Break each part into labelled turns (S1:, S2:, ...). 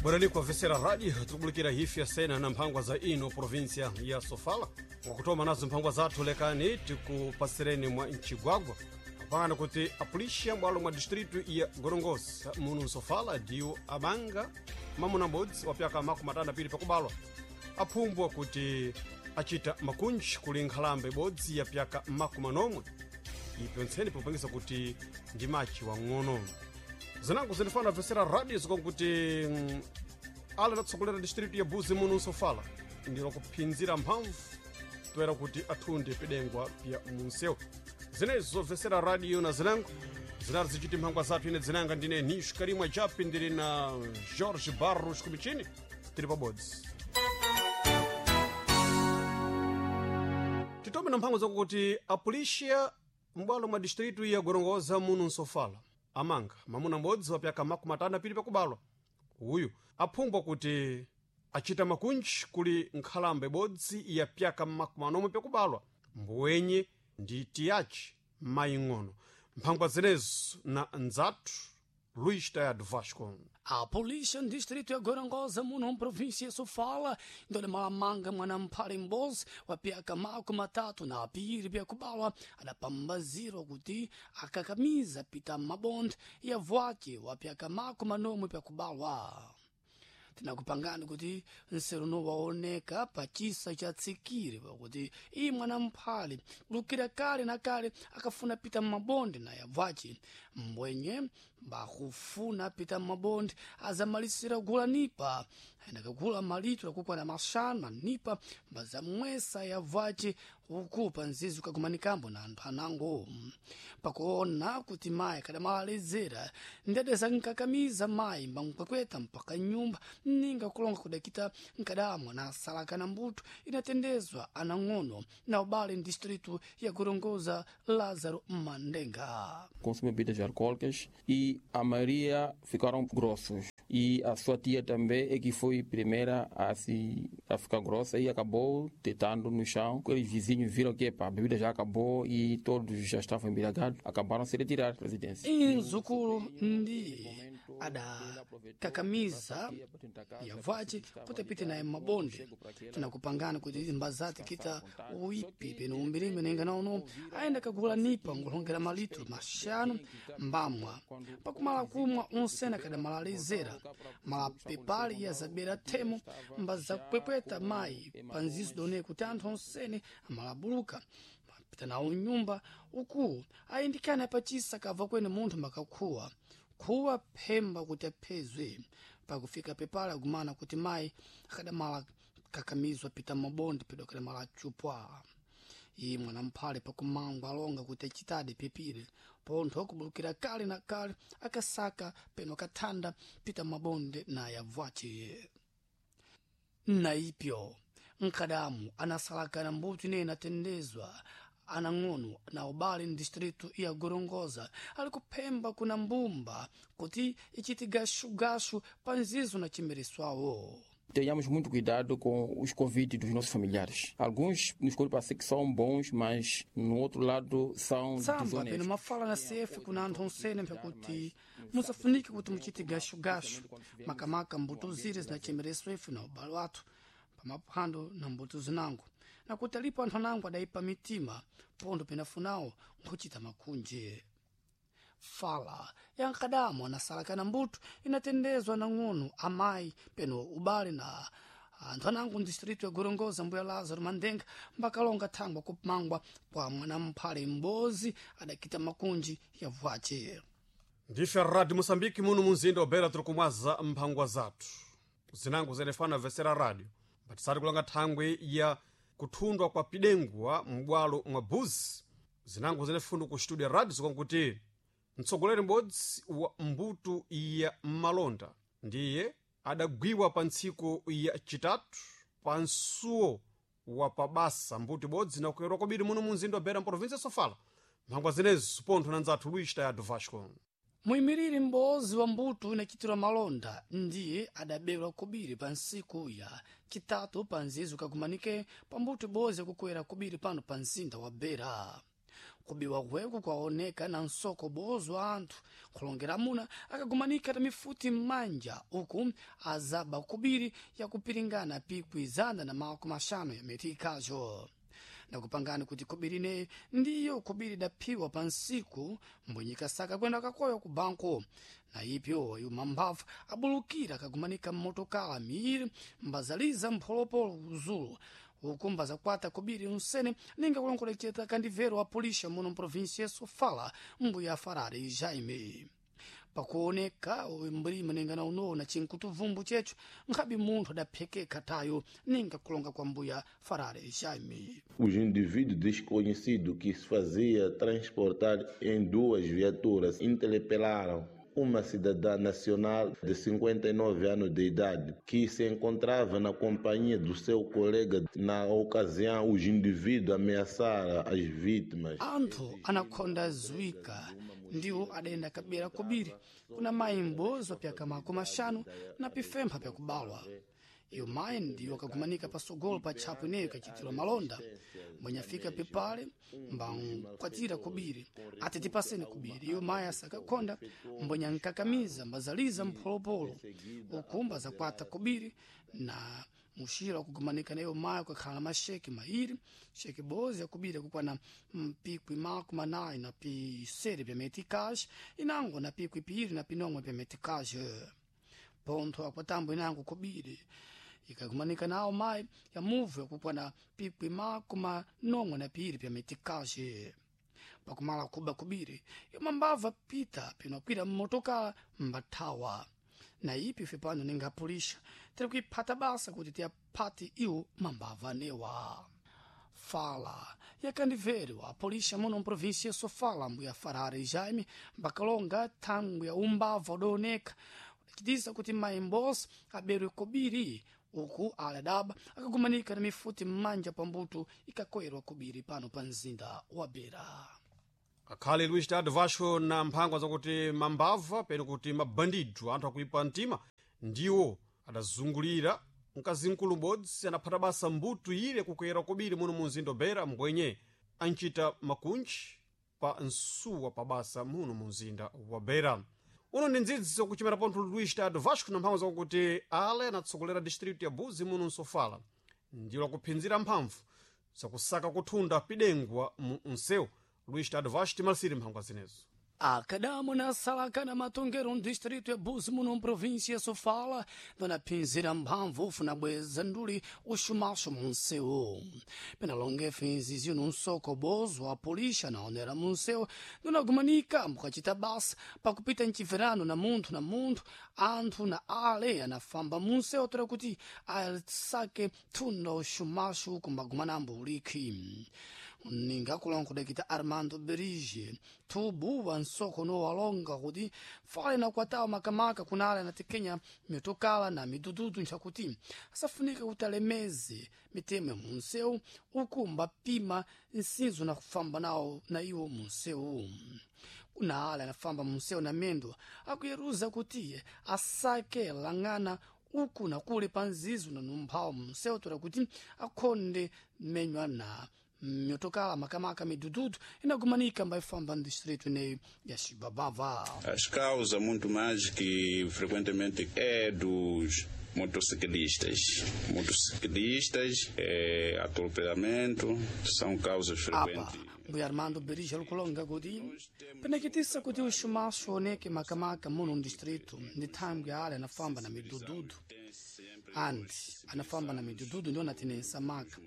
S1: Bwerani kuwavesera radio tikubulikira hifi ya sena na mphangwa za ino provinsia ya Sofala. Wakutoma nazo mphangwa zathu lekani tikupasireni mwa Nchigwagwa apangana kuti apulisha bwalo mwa distritu ya Gorongosa munu Sofala ndiwo amanga mamuna m'bodzi wa pyaka 52 pakubalwa aphumbwa kuti achita makunji kuli nkhalambe ibodzi ya pyaka 40 ipyontseni popangisa kuti ndi machi wang'ono. Zinango zinifana vesera radio zikonkuti ala adatsogolera distritu ya Buzi munu Sofala ndilo kuphinzira mphamvu toera kuti athunde pidengwa pya munsewu. Zinezo zobvesera radio na zinango zinali zichiti mphangwa zathu. Ine dzinanga ndine Nisho Karimwa Japi, ndili na Jorge Barros kumichini, tili pabodzi. Titome na mphango zakuti apulisha m'bwalo mwa distritu ya Gorongosa munu Nsofala amanga mamuna m'bodzi wa pyaka 52 pakubalwa. Uyu aphumbwa kuti achita makunji kuli nkhalambe ibodzi ya pyaka 40 pakubalwa mbuwenye ndi tiyachi maying'ono. Mphangwa zinezo na ndzathu Luís Tayado Vasco.
S2: A polícia no distrito ya Gorongosa, muno província ya Sofala, ndole malamanga mwana mphale m'bozi wa pyaka 32 pyakubalwa adapambazirwa kuti akakamiza pita mabonde ya vwake wa pyaka 40 pyakubalwa. Tinakupangani kuti nseruno waoneka pa chisa cha tsikiri pakuti iye mwana mphale kulukira kale na kale akafuna pita mmabonde na yabvace mbwenye mbakufuna pita mmabonde azamalisira kugula nipa ayendakagula malitu akukwana 5 nipa mbazamwesa yabvace uku pa nzizi ukakumanikambo na anthu anango. Pakuona kuti mayi akadamalezera ndadeza nkakamiza mayi mbamkwekweta mpaka nyumba ninga kulonga kudakita nkadamwa na asalakana mbuto inatendezwa anang'ono na ubale distritu ya Gorongosa Lázaro Mandenga.
S3: Consumem bebidas alcoólicas e a maioria ficaram grossos. E a sua tia também é que foi primeira a se a ficar grossa e acabou deitando no chão. Aqueles vizinhos viram que epa, a bebida já acabou e todos já estavam embriagados, acabaram se retirar da residência.
S2: Inzukulu ndiye adakakamiza yavace kuti apite naye mmabonde. Tinakupangana kuti mbazati kita uipi peno umbirime nenga naono ayenda kagula nipa ngulongera malitro 5 mbamwa pakumala kumwa unsena kadamalalezera malapepali ya zabera themo mbazakupwepweta mayi panzizo done kuti anthu onsene amalabuluka mapita nawo nyumba uku ayindikana pachisa kava kwene munthu makakhuwa khuwa phemba kuti aphezwe. Pakufika pepala agumana kuti mayi akadamala kakamizwa pita mabonde pedo akadamala chupwa. Iye mwana mphale pakumangwa alonga kuti achitadi pepire pontho akubulukira kale na kale akasaka peno akathanda pita mabonde naye abvace. Naipyo nkadamu anasalakana mbuto ineyi inatendezwa anang'ono na ubale ndistritu ya Gorongosa ali kuphemba kuna mbumba kuti ichiti gashugashu pa nzizo na chimereswawo.
S3: Tenhamos muito cuidado com os convites dos nossos familiares. Alguns nos parece que são bons, mas no outro lado são
S2: Tsamba peno
S3: desonestos.
S2: mafala na CF kuna anthu onsene mpyakuti musafunike kuti muchite gashugashu makamaka mbuto zire zinachemereswa ife na ubale wathu pamaphwando na mbuto zinango nakuti alipo anthu anango adayipa mitima pontho penafunawo nkhuchita makhunje. Fala ya nkadamo anasalakana mbuto inatendezwa nang'ono amayi peno ubale na anthu anango mdistritu ya Gorongosa mbuya Lázaro Mandenga mbakalonga thangwa kumangwa kwa mwanamphale m'bozi adakita makunji ya vwace.
S1: Ndife Radio Moçambique muno munzinda wa Beira tiri kumwaza mphangwa zathu zinango zenefana vesera radio batisati kulanga thangwi ya kuthundwa kwa pidengwa m'bwalo mwa Buzi. Zinango zenefundo ku studio ya radio zikonkuti mtsogoleri m'bodzi wa mbuto ya malonda ndiye adagwiwa pa ntsiku ya chitatu pa msuwo wa pabasa mbuto ibodzi nakuyerwa kwabiri muno munzinda wa Beira mprovinsia ya Sofala. Mphangwa zinezo pontho na ndzathu Luís Tayado Vasco.
S2: Muyimiriri m'bozi wa mbuto inachitirwa malonda ndiye adaberwa kobiri pa ntsiku ya chitatu pa nzizo kakumanike pa mbuto ibodzi yakukwera kobiri pano pa mzinda wa Beira. Kubiwa kweku kwaoneka na nsoko bozo anthu kulongera muna akagumanika na mifuti m'manja uku azaba kubiri yakupiringana pikwi 150 ya metikazo nakupangani kuti kubiri ineyi ndiyo kubiri idaphiwa pa nsiku mbwenyikasaka kwenda kakoyo ku banko na ipyo yumambava abulukira akagumanika mmotokala miiri mbazaliza mpholopolo kuzulu uku mbazakwata kubiri unsene ninga kulongoleceta kandivero wa polícia muno mprovíncia ya Sofala mbuya Farari Jaime pakuoneka mlima ninga na unowo na chinkutuvumbu checho nkhabi munthu adaphekeka tayo ninga kulonga kwa mbuya Farari Jaime.
S4: Os indivíduos desconhecidos que se fazia transportar em duas viaturas interpelaram uma cidadã nacional de 59 anos de idade que se encontrava na companhia do seu colega. Na ocasião, os indivíduos ameaçaram as vítimas.
S2: Anthu anakhonda zwika ndiwo adayenda kabera kobiri kuna mayi m'bozo pyaka 50 na pifempha pyakubalwa. Iyo mayi ndiyo akagumanika pasogolo pa tchapo ineyo ikachitirwa malonda mbwenyafika pepale mbankwatira kubiri ati tipaseni kubiri. Iyo mayi asakakhonda mbwenyankakamiza mbazaliza mpholopolo uku mbazakwata kubiri na muxira wakugumanika na iyo mayi kukakhala na maxeke mairi xeke bozi yakubiri yakukwana mpikwi 40 na pisere pya meticage inango na pikwi piiri na pinomwe pya meticage pontho akwatambo inango kubiri ikakumanika nawo mayi ya muvu yakukwana pikwi 42 pya meticage pakumala kuba kubiri yomambava pita pinokwira mmotokala mbathawa na ipi ife pano ningapulisha tiri kuiphata basa kuti tiyaphati iwo mambava newa. Fala yakandivero a polícia muno mprovíncia ya Sofala mbuya Farari Jaime mbakalonga thangwi ya umbava udaoneka udachitisa kuti mayi mbosi aberwe kobiri uku ali adaba akagumanika na mifuti m'manja pambuto ikakoyerwa kobiri pano pa mzinda wa Beira.
S1: Akhale Luís Tado Vasco na mphangwa zakuti mambava peno kuti mabandidu anthu akuipa mtima ndiwo adazungulira mkazinkulu m'bodzi anaphata basa mbuto ile kukuyera kobiri muno mu mzinda wa Beira mbwenye ancita makunji pa nsuwa pa basa muno mu mzinda wa Beira. Uno ndi ndzidziso kuchimera pontho Luís Tado Vasco na mphamvu zakuti ale anatsogolera distritu ya Buzi muno msofala ndilo akuphinzira mphamvu zakusaka kuthunda pidengwa mu msewu. Luís Tado Vasco timalisire mphangwa zinezo.
S2: Akadamo na salaka na matongero distrito ya Buzi muno mprovíncia ya Sofala dona phinzira mphamvu ufuna bweza nduli uxumaxo munsewu penalonge finzizio nunsoko bozo a polícia naonera munsewu dona gumanika mukacita basa pakupita mchiverano na munthu na munthu anthu na ale anafamba munsewu toera kuti asake thunda uxumaxo kumbagumanambo ulikhi ningakulongodekita Armando Berige thubu wa nsoko nowalonga kuti fale na kwatawa makamaka kunale anatekenya mitokala na midududu nchakuti asafunika kuti alemeze mitemo ya munsewu uku mbapima nsinzo na kufamba nawo na iwo munsewu kuna ale anafamba munsewu na mendo akuyeruza kuti asake lang'ana uku na kule pa nzizo na numphawo munsewu toera kuti akhonde menywa na mitokala makamaka midududu inagumanika mbaifamba no distrito ineyo ya Chibabava.
S5: As causas muito mais que frequentemente é dos motociclistas. Motociclistas, atropelamento, são causas frequentes.
S2: Apa, mbuya Armando Berija lukulonga kuti penekitisa kuti uxumaxo oneke makamaka muno distrito ndi thangwi ale anafamba na midududu andi anafamba na midududu ndiwo natinensa maka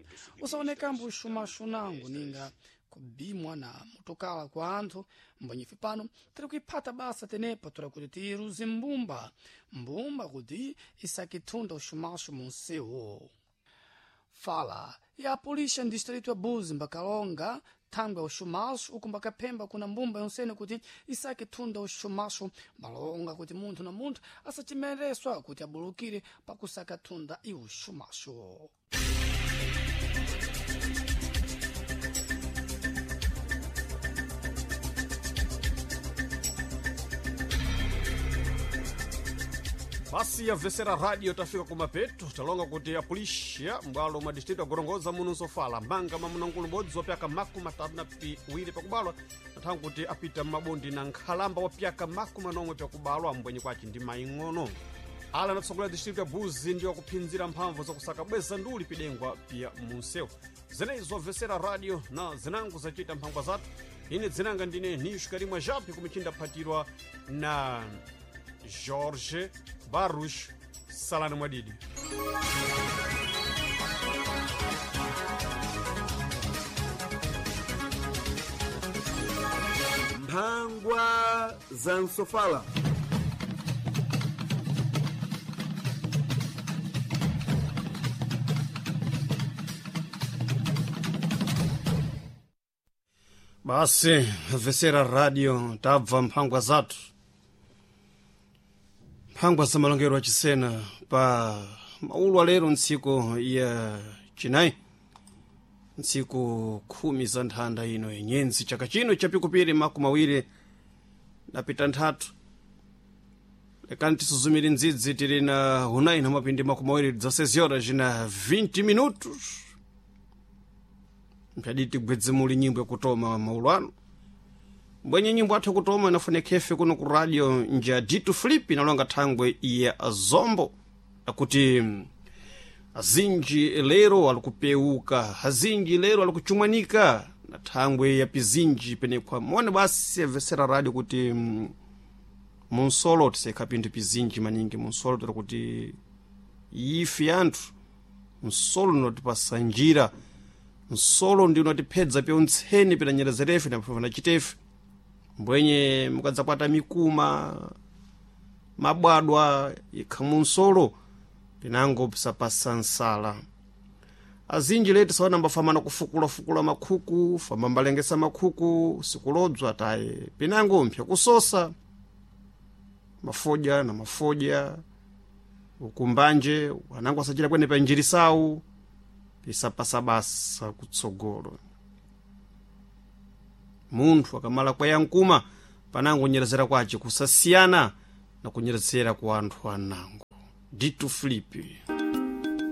S2: usaonekambo uxumaxo nango ninga kubimwa na motokala kwa anthu mbwenyefe pano tiri kuiphata basa tenepa tora kuti tiiruze mbumba mbumba kuti isakithunda uxumaxo munsewu. Fala ya polícia no distrito ya Buzi mbakalonga thangwi ya uxumaxo uku mbakaphemba kuna mbumba yonsene kuti isake thunda uxumaxo mbalonga kuti munthu na munthu asachimereswa kuti abulukire pakusaka thunda iwo uxumaxo.
S1: Basi yabvesera radio tafika kumapeto talonga kuti apulisha mbwalo mwa distrito ya Gorongosa muno nsofala manga mamunangulu m'bodzi wa pyaka 32 pakubalwa nathangu kuti apita m'mabondi na nkhalamba wa pyaka 40 pakubalwa mbwenye kwace ndi maing'ono. Ala anatsogolera distrito ya Buzi ndiwo akuphinzira mphamvu zakusaka bweza nduli pidengwa pya munsewu. Zenezo obvesera radio na zinango zacita mphangwa zathu. Ine dzinanga ndine Nisho Karimwa Japi kumichinda phatirwa na Jorge Barros Salano Mwadidi.
S6: Mphangwa za Nsofala.
S1: Basi vesera radio tabva mphangwa zathu, mphangwa za malongero achisena pa maulu alero ntsiku ya chinayi, ntsiku 10 za nthanda ino yenyenzi chaka chino chapikupiri 26. Lekani tisuzumire ndzidzi tili na hunayi na mapindi 26 horas na 20 minutos. Mphadi tigwedze muli nyimbo yakutoma maulu ano. Mbwenye nyimbo athu kutoma inafunekhefe kuno ku radio nja Dito Flip inalonga thangwe ya Zombo akuti azinji lero alikupeuka, azinji lero alikuchumwanika na thangwe ya pizinji penekhwa mone. Basi amvesera radio kuti munsolo tisekha pinthu pizinji maningi munsolo tiri kuti ife anthu nsolo notipasa njira, nsolo ndi unatiphedza pyontseni pinanyerezerefe na chitefe. Mbwenye mukadzakwata mikuma mabwadwa ikha munsolo pinango pisapasa nsala. Azinji leti saona mbafamana kufukulafukula makhuku famba mbalengesa makhuku sikulodzwa taye pinango mpya kusosa mafodya na mafodya ukumbanje anango asachita kwene pa njirisawu pisapasa basa kutsogolo. Munthu akamala kwayankuma panango nyerezera kwace kusasiyana na kunyerezera kwa anthu anango. Dito Filipe.